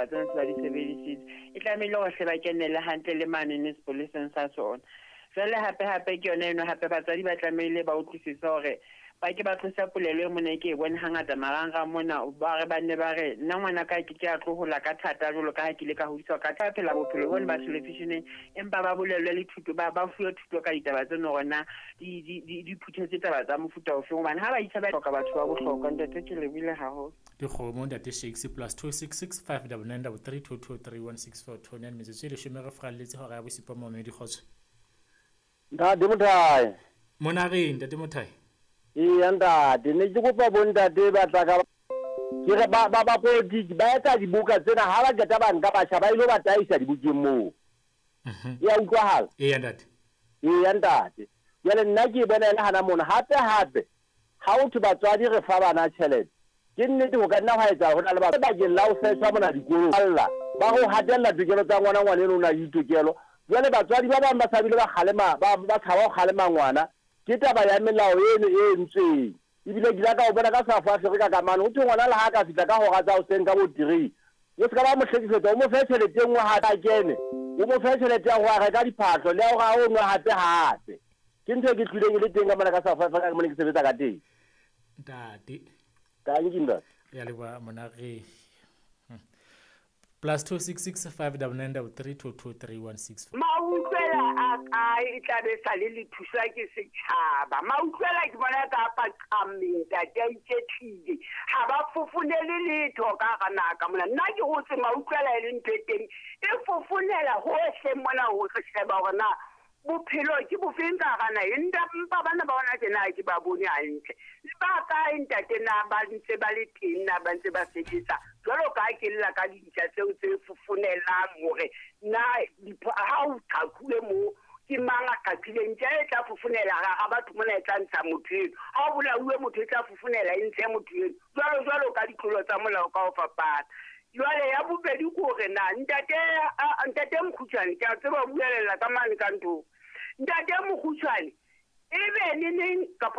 Tsena se ba di sebedisitse, e tlamehile hore hle ba kenelle hantle le manene sepoleseng sa sona. Jwale hape-hape ke yona eno, hape batswadi ba tlamehile ba utlwisise hore ba ke ba tlosa polelo e mona e ke e bone hangata marangrang mona, ba re ba nne ba re nna ngwana ka ke ke a tlo hola ka thata jwalo ka ha ke ile ka hodiswa ka thata, phela bophelo bone ba televisioneng, empa ba bolellwe le thuto, ba fuwe thuto ka ditaba tseno hore na di phuthetse taba tsa mofuta ofeng, hobane ha ba itjha ba hloka batho ba bohlokwa. Ntate, ke lebohile haholo. Dikgomo ntate Shakes +266 599 33 223 1642 metsotso e 10 re fralletse hora ya bosupa. Momedi, kgotso. Ntate Mothae. Monareng, ntate Mothae. Eya ntate, ne ke kopa bontate ba tla ka ke re ba politiki ba etsa diboka tsena, ha ba qeta ba nka batjha ba ilo ba taisa dibokeng moo. E ya utlwahala? Eya ntate. Eya ntate. Jwale nna ke e bona e le hana mona. Hape hape ha ho thwe batswadi re fa bana tjhelete, ke nnete ho ka nna hwa etsahala ho na le ba bakeng la ho setjhwa mona dikolong alla ba ho hatella tokelo tsa ngwana, ngwana eno o na le ditokelo. Jwale batswadi ba bang ba sa bile ba kgalema, ba tshaba ho kgalema ngwana. Ke taba ya melao eno e entsweng. Ebile ke ile ka o bona ka South Africa ka mane, ho thwe ngwana le ha a ka fihla ka hora tsa hoseng ka bo 3, o se ka ba mo hlekefetsa, o mo fe tjhelete e nngwe hape a kene, o mo fe tjhelete ya ho a reka diphahlo le ya hore a o nwe hape hape. Ke ntho e ke tlileng e le teng ka mona ka South Africa ke mona ke sebetsa ka teng. Ntate. Tanki ntate. Re a leboha monare. +266 599 33 223 164. Mautlwela a kae e tla be sa le le thuswa ke setjhaba. Mautlwela ke bona ka paqameng ntate a iketlile, ha ba fofonele letho ka hara naha ka mona. Nna ke hotse mautlwela e le ntho e teng e fofonela hohle mona ho re sheba hore na bophelo ke bofeng ka hara naha. Empa bana ba hona tjena ha ke ba bone hantle. Ba kae ntate, na ba ntse ba le teng, na ba ntse ba sebetsa jwalo ka ha ke lla ka dintja tseo tse fofonelang hore na ha o qhaquwe moo ke mang a qaqileng ntja e tla fofonela hara batho mona e tla ntsha motho eno, ha o bolauwe motho e tla fofonela e ntshe motho eno, jwalo jwalo ka ditlolo tsa molao ka ho fapana. Jwale ya bobedi ke hore na ntate Mokgutshwane, ke a tseba o buelella ka mane ka nthong. Ntate Mokgutshwane, ebe ne neng kapa